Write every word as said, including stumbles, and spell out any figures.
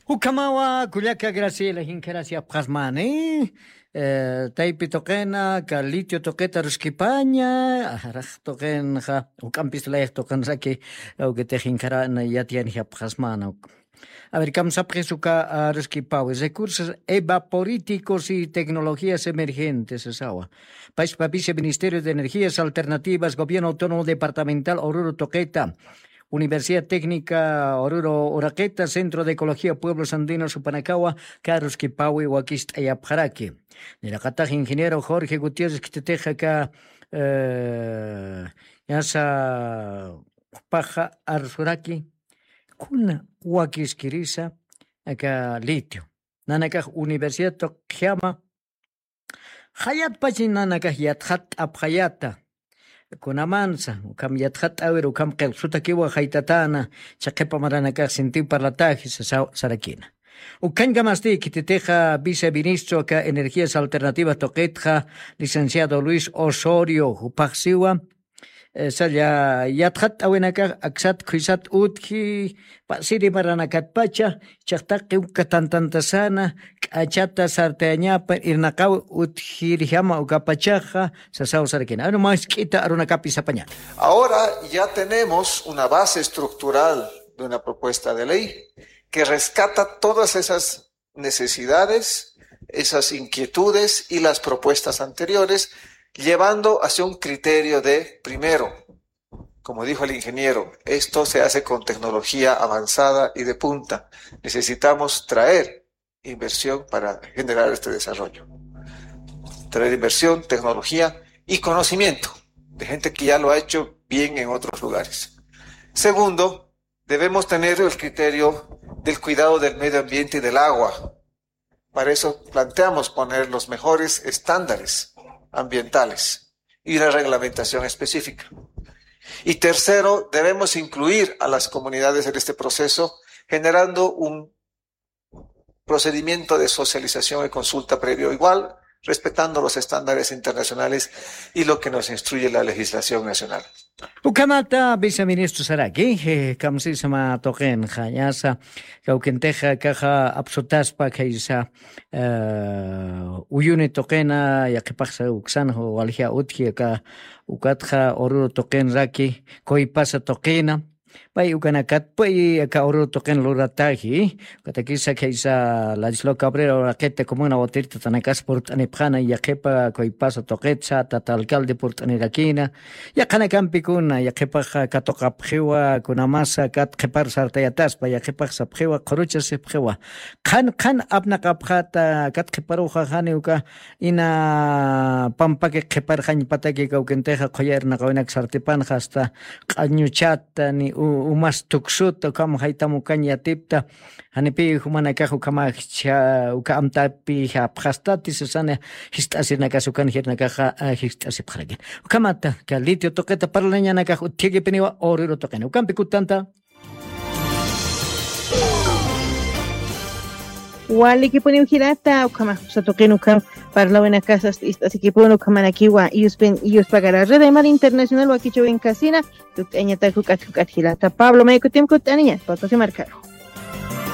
Ukhamawa kullaka Graciela, jinkarasi apqasmani. Taypi tuqina ka litio tuqita ruskipaña, arax tuqinxa uk'ampis layx tuqinraki. Awkitix jinkarana yatiyani apqasmana. A ver, kamsapxis uka ruskipawi recursos evaporíticos y tecnologías emergentes sawa. Pachpa viceministerio de energías alternativas gobierno autónomo departamental oruro tuqita, Universidad Técnica Oruro Uraqita, Centro de Ecología Pueblos Andinos Upanakawa, Carlos Kipawi wakist'ayapxaraki. Niraqatax ingeniero Jorge Gutiérrez kititixa ka, eh, yasa, paxa arsuraki, kuna wakiskirisa, aka litio. Nanakax universidad tuqjama, jayatpachi nanakax yatxatt'apxayata. Kunamansa ukham yatxatt'awir ukham qillqsutakiwa jaytatana, chaqhipa maranakax sintiw parlataji sarakina. Ukhañkamasti khititixa viceministro aka energías alternativas tuqitxa, licenciado Luis Osorio jupaxsiwa, salla yatxatt'awinakax aksat khuysat utji, pasiri maranakatpacha, chaqtaqi uka tantantasana, k'achata sartayañapa irnaqaw utjirjama ukapachaxa, sasaw sarakina. Anu mask'ita arunakapi sapañata. Ahora ya tenemos una base estructural de una propuesta de ley que rescata todas esas necesidades, esas inquietudes y las propuestas anteriores, llevando hacia un criterio de primero, como dijo el ingeniero, esto se hace con tecnología avanzada y de punta. Necesitamos traer inversión para generar este desarrollo. Traer inversión, tecnología y conocimiento de gente que ya lo ha hecho bien en otros lugares. Segundo, debemos tener el criterio del cuidado del medio ambiente y del agua. Para eso planteamos poner los mejores estándares ambientales y la reglamentación específica. Y tercero, debemos incluir a las comunidades en este proceso, generando un procedimiento de socialización y consulta previo igual, respetando los estándares internacionales y lo que nos instruye la legislación nacional. Ukhamata viceministro saraki, kamsisma tuqinxa, ñasa kawkintixa kaxa apsutaspa khaysa, uyuni tuqina, yaqhipaxsa uksan walja utji aka, ukatxa Oruro tuqinraki, Kuypasa tuqina, pay ukanakat pay aka Oruro tuqin lurataji, ukatakisa khaysa Ladislao Cabrera Uraqita comuna Watirtatanakas purt'anipxana, yaqhipa Kuypasa tuqitsa tata alcalde purt'anirakina, yaqhanakampikuna, yaqhipax katuqapxiwa, kunamasa kat qhipar sartayataspa, yaqhipax sapxiwa, qhuruchasipxiwa. Qhan, qhan apnaqapxata, kat qhiparuxa jani uka, ina pampaki qhiparxañpataki kawkintixa, qhuya irnaqawinak sartipanxa, hasta q'añuchata, ni u-, umas tuksuta, ukham jaytam ukañ yatipta, janipi jumanakax ukhamax cha-, uka amtapi japxastati, sasana jist'asirinakas ukan jirnakaxa, a, jist'asipxarakin. Ukhamata, ka litio tuqita parlañanakax utjikipiniwa Oruro tuqina. Ukampi kutanta. Walikipuniw jilata, ukhamax usa tuqin ukham parlawinakasas ist'asikipun, ukhamanakiwa iyuspin, iyuspagara Red Aymar Internacional wakichawin kasina, tukt'añatak juk'at, juk'at jilata. Pablo, maykutim kutt'aniña, Potosí markaru.